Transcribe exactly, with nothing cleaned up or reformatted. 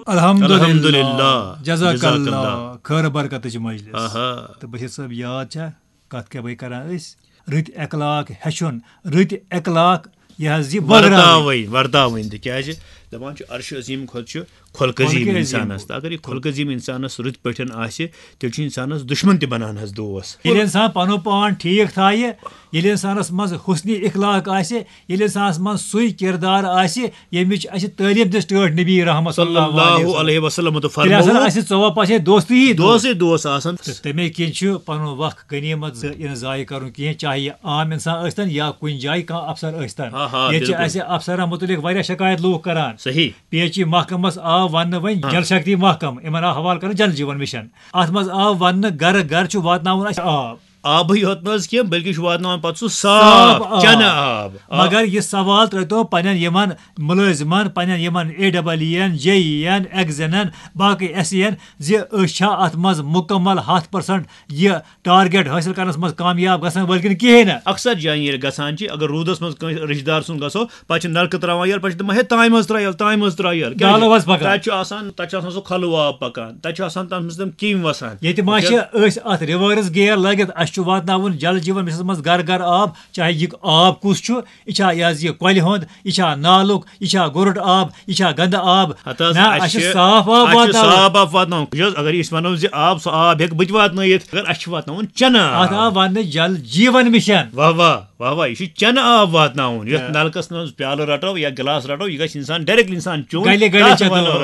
الحمدللہ۔ الحمدللہ۔ جزاک جزاک اللہ۔ اللہ۔ خٲر برکتٕچ مجلس۔ آہا۔ تہٕ بشیر صٲب، یاد چھا کتھ کیٛاہ بہٕ کران أسۍ؟ رٕتۍ اخلاق ہیٚچھُن، رٕتۍ اخلاق، یہِ حظ یہِ بٲگراوٕنۍ۔ ورتاوٕنۍ ورتاوٕنۍ تِکیازِ دپان چھُ عرش عظیم کھۄتہٕ چھُ خلق عظیم خلق عظیم انسانس۔ گوٚو۔ تہٕ اگر یہِ خلق عظیم انسانس رٕتۍ پٲٹھۍ آسہِ، تیٚلہِ چھُ انسانس دشمن تہِ بنان حظ دوس۔ ییٚلہِ انسان پنُن پان ٹھیٖک تھایہِ، ییٚلہِ انسانس منٛز حسنِ اخلاق آسہِ، ییٚلہِ انسانس منٛز سُے کردار آسہِ، ییٚمِچ اسہِ تعلیٖم دِژ ٹٲٹھۍ نبی رحمت صلی اللہ علیہ وسلم۔ تہٕ تیٚلہِ آسن فرموو، اسہِ ژۄوا پاسے دوستی ہی دوست۔ دوسٕے دوس آسان۔ تہٕ تمے کِنۍ چھُ پنُن وقت غنیمت ز-، یہِ نہٕ ضایع کرُن کینٛہہ، چاہے یہِ عام انسان ٲسۍتن یا کُنہِ جایہِ کانٛہہ افسر ٲسۍتن۔ آ، آ، ییٚتہِ چھِ بِلکُل۔ اسہِ افسرن متعلق واریاہ شکایت لوٗکھ کران۔ صحیح۔ پی ایچ ای محکمس آو وننہٕ وۄنۍ ہاں۔ جل شکتی محکم، یِمن آو حوالہٕ کرنہٕ جل جیون مشن۔ اتھ منٛز آو وننہٕ گرٕ گرٕ چھُ واتناوُن اسہِ آب۔ آبٕے یوت نہٕ حظ کینٛہہ، بلکہِ چھُ واتناوان پتہٕ سُہ صاف صاف آب۔ چنہٕ آب۔ آ۔ مگر یہِ سوال ترٲوتو پننٮ۪ن یِمن مُلٲزمن، پننٮ۪ن یِمن اے ڈبل ای ین، جے ای ین، ایگزنن، باقٕے ایس ای ین، زِ أسۍ چھا اتھ منٛز مکمل ہتھ پرسنٹ یہِ ٹارگیٹ حٲصِل کرنس منٛز کامیاب گژھن وٲلۍ کِنہٕ کِہیٖنۍ نہٕ؟ اکثر جایہِ ییٚلہِ گژھان چھِ، اگر روٗدس منٛز کٲنٛسہِ رشتہٕ دار سُنٛد گژھو، پتہٕ چھِ نلکہٕ تراوان یلہٕ، پتہٕ چھِ دپان، "ہے، تامہِ منٛز ترٛاو یلہٕ، تامہِ منٛز ترٛاو یلہٕ۔" کیٛازِ؟ دالو حظ پکان۔ تتہِ چھُ آسان، تتہِ چھُ آسان سُہ کھۄلہٕ آب پکان، تتہِ چھُ آسان تتھ منٛز تِم کیٚمۍ وسان۔ ییٚتہِ ما چھِ أسۍ اتھ ریورس گیئر لٲگِتھ؟ اسہِ چھُ واتناوُن جل جیون مشنس منٛز گرٕ گرٕ آب، چاہے یہِ آب کُس چھُ، یہِ چھا یہِ حظ یہِ کۄلہِ ہُنٛد، یہِ چھا نالُک، یہِ چھا گُرُٹ آب، یہِ چھا گنٛدٕ آب؟ ہتہٕ حظ، نہ، اَسہِ اسہِ چھُ چھِ، صاف آب اَسہِ چھُ واتناوُن۔ صاف آب واتناوُن۔ یُس اگر أسۍ ونو زِ آب، سُہ آب ہیٚکہِ بہٕ تہِ واتنٲیِتھ، مگر اَسہِ چھُ واتناوُن چنہٕ آب۔ اتھ آو وننہٕ جل جیون مشن۔ واہ واہ، واہ واہ، یہِ چھُ چنہٕ آب واتناوُن۔ یتھ آ۔ نلکس منٛز پیالہٕ رٹو یا گلاس رٹو، یہِ گژھِ انسان ڈائریکٹ انسان چیوٚن۔ گلہِ گلہِ تتھ چٮ۪تھ ونو آب۔